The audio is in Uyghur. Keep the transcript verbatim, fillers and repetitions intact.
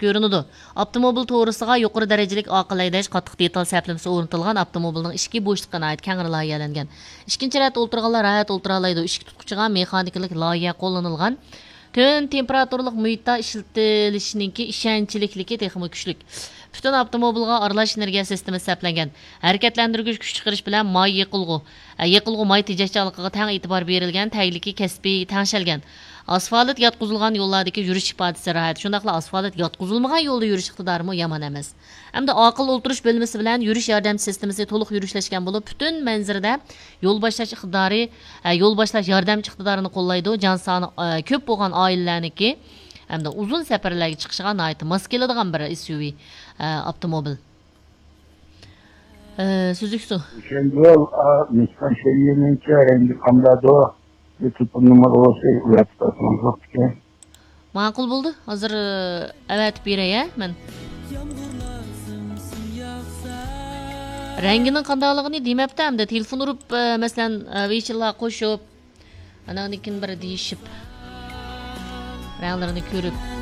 كۆرۈنىدۇ. ئاپتوموبىل توغرىسىغا يۇقىرى دەرىجىلىك ئاقىل ھەيدەش قاتتىق دېتال سەپلىمىسى ئورنىتىلغان ئاپتوموبىلنىڭ ئىچكى بوشلۇقى ناھايىتى كەڭرى لايىھەلەنگەن. ئىككىنچى رەتتە ئولتۇرغانلار راھەت ئولتۇرالايدۇ. ئىشىك تۇتقۇچىغا مېخانىكىلىق لايىھە قوللىنىلغان. تۆۋەن تېمپېراتۇرىلىق مۇھىتتا ئىشلىتىلىشىنىڭكى ئىشەنچلىكلىكى تېخىمۇ كۈچلۈك. پۈتۈن ئاپتوموبىلغا ئارىلاش ئېنېرگىيە سىستېمىسى سەپلەنگەن. ھەرىكەتلەندۈرگۈچ كۈچ چىقىرىش بىلەن ماي يېقىلغۇ، ئە، يېقىلغۇ ماي تېجەشچانلىقىغا تەڭ ئېتىبار بېرىلگەن، تەگلىكى كەسپىي تەڭشەلگەن. ئاسفالت ياتقۇزۇلغان يوللاردىكى يۈرۈش ئىپادىسى راھەت. شۇنداقلا ئاسفالت ياتقۇزۇلمىغان يولدا يۈرۈش ئىقتىدارىمۇ يامان ئەمەس. ھەمدە ئاقىل ئولتۇرۇش بۆلمىسى بىلەن يۈرۈش ياردەمچى سىستېمىسى تولۇق يۈرۈشلەشكەن بولۇپ، پۈتۈن مەنزىرىدە يول باشلاش ئىقتىدارى، ئە، يول باشلاش ياردەمچى ئىقتىدارىنى قوللايدۇ. جان سانى، ئە، كۆپ بولغان ئائىلىلەرنىڭكى ھەمدە ئۇزۇن سەپەرلەرگە چىقىشىغا ناھايىتى ماس كېلىدىغان بىر ئېس يۇ ۋى، ئە، ئاپتوموبىل. ئە، سۈزۈك سۇ. شەنگال، ئا، نىسسان شەييىنىڭچە رەڭگى قانداقدۇ؟ بىر تېلېفون نومۇرى بولسا ئەۋەتىپ بەرسىڭىز بوپتىكەن. ماقۇل بولدى. ھازىر، ئە، ئەۋەتىپ بېرەي، ھە، مەن. رەڭگىنىڭ قانداقلىقىنى دېمەپتۇ ئەمدى. تېلېفون ئۇرۇپ، ئە، مەسىلەن، ئە، ۋېيچىنلارغا قوشۇپ، ئاناندىن كېيىن بىر دېيىشىپ، رەڭلىرىنى كۆرۈپ.